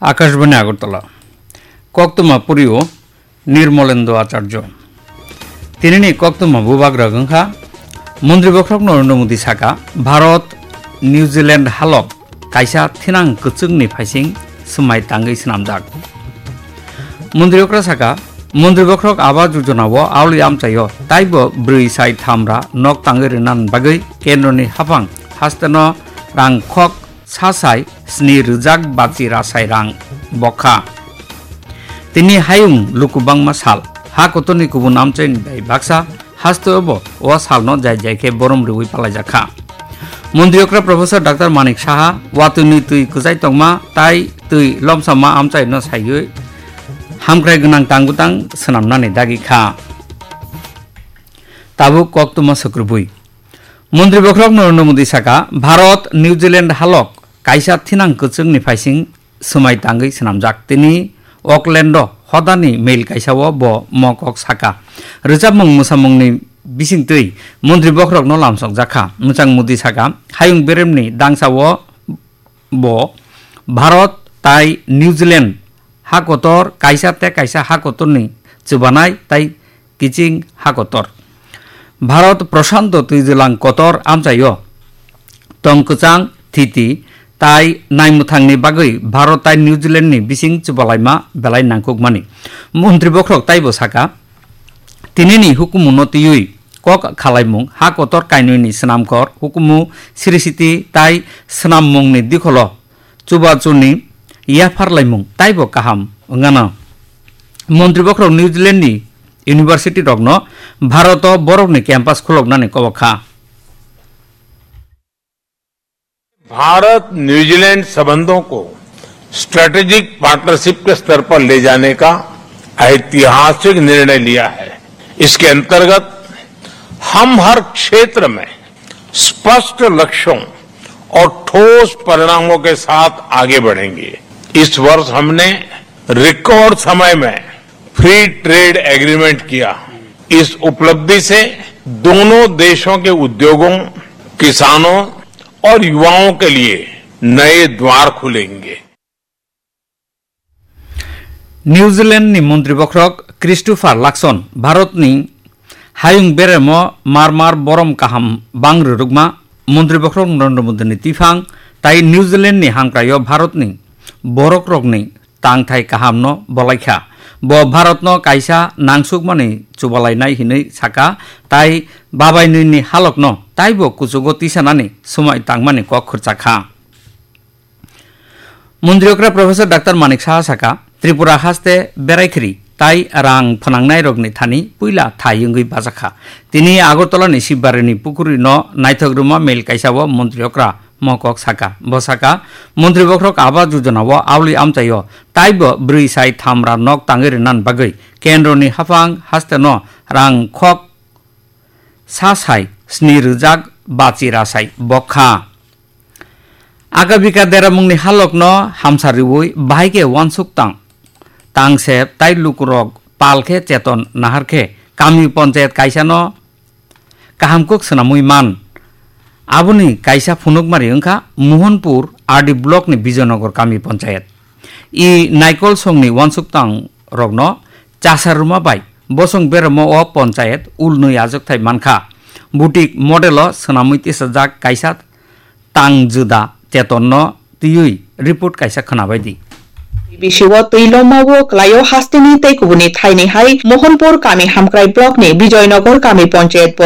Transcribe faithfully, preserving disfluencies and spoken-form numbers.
Akashbani Agartala. Koktwma purio Nirmolendo Acharjo. Tinini koktwma bubagra wngkha, Montri Bokhorok Narendra Modi saka, Bharat, New Zealand halok kaisa thinang kwchwngni phaising swmai tangwi swnamjak. Montri okra saka, Montri Bokhorok Awas Yojana o aoli amchaio taibo brwi sai thamra nok tangwi rwna bagwi kendroni haphang hasteno rang khok sa sai sni rwjak bachi rasai rang bokha. Tini hayung luku bangma sal, ha kotorni kubun amchaini bai baksa, haste obo o salno jai jai khe borom rwui palaijak kha. Montri okra Professor Doctor Manik Saha watwini twi kwchai tongma tai twi lomsama amchaino saiwi hamkrai gwnang tang bwtang swnamnani dagi kha. Tabuk koktwma swkrubui. Montri Bokhorok Narendra Modi saka, Bharat, New Zealand halok kaisa thinang kwchwngni phaising swmai tangwi swnamjak. Tini Auckland-o hodani mail kaisa-o bo mokok saka. Rwchapmung mwsamungni bisingtwi Montri Bokhorokno lamsokjak kha. Mwchang Modi saka, hayung beremni dangsa-o bo Bharat tai New Zealand ha kotor kaisa tei kaisa ha kotorni chubanai tai kiching ha kotor. Bharat Prashanto twijlang kotor amchaio tong kwchang thiti tai naimwthangni bagwi Bharat tai New Zealandni bising chubalaima belai nangkukmani. Montri Bokhorok taibo saka, tinini hukumuno twiwi kok khalaimung ha kotor kainwini swnamkhor hukumu Sri Siti tai swnammungni dikholo chubachuni yapharlaimung taibo kaham wngano. Montri Bokhorok New Zealandni university rokno Bharat-o borokni campus khuloknani kobok kha. Bharat New Zealand संबंधों को strategic partnership के स्तर पर ले जाने का ऐतिहासिक निर्णय लिया है। इसके अंतर्गत हम हर क्षेत्र में स्पष्ट लक्ष्यों और ठोस परिणामों के साथ आगे बढ़ेंगे। इस वर्ष हमने रिकॉर्ड समय में फ्री ट्रेड एग्रीमेंट किया। इस उपलब्धि से दोनों देशों के उद्योगों, किसानों और युवाओं के लिए नए द्वार खुलेंगे। New Zealand ni Montri Bokhorok Christopher Luxon Bharat ni hayung beremo mar mar borom kaham bang rwrwkma Montri Bokhorok Narendra Modi ni tiphang tai New Zealand ni hamkraio Bharat ni borok rokni tangthai kahamno bolaikha. Bo Bharatno kaisa nangsukmani chubalainai hinwi saka tai babainwini halokno taibo kuchugo tisanani swmai tangmani kok khurchakha. Montri okra Professor Doctor Manik Saha saka, Tripura haste beraikhri tai rang phnangnairokni thani puila thai wngwi bajakha. Tini Agartala ni Sibbarini pukurino naithok rwma mail kaisa o Montri okra mokok saka. Bo saka, Montri Bokhorok Awas Yojana o aoli amchaio taibo brwi sai thamra nok tangwi rwna bagwi kendroni haphang hasteno rang khok sa sai sni rwjak bachi rasai bokha. Akabika deramungni halokno hamsa riui bahai khe uansuk tang. Tangsep tai lukurok pal khe cheton nahar khe kami ponchayat kaisano kaham kuk swnamwi man. Aboni kaisa phunukmari wngkha Mohanpur R D block ni Bijoynagar kami ponchayat. I Naikol songni uansuk tang rokno chasa rwma bai bosong beremo o ponchayat ulnwi ajwkthai mankha. Butik model o swnamwi tisajak kaisa tang juda chetonno twiwi report kaisa khwnabaidi. B C o twi lomao kwlaio hasteni tei kubuni thaini hai Mohanpur kami hamkrai block ni Bijoynagar kami ponchayat bo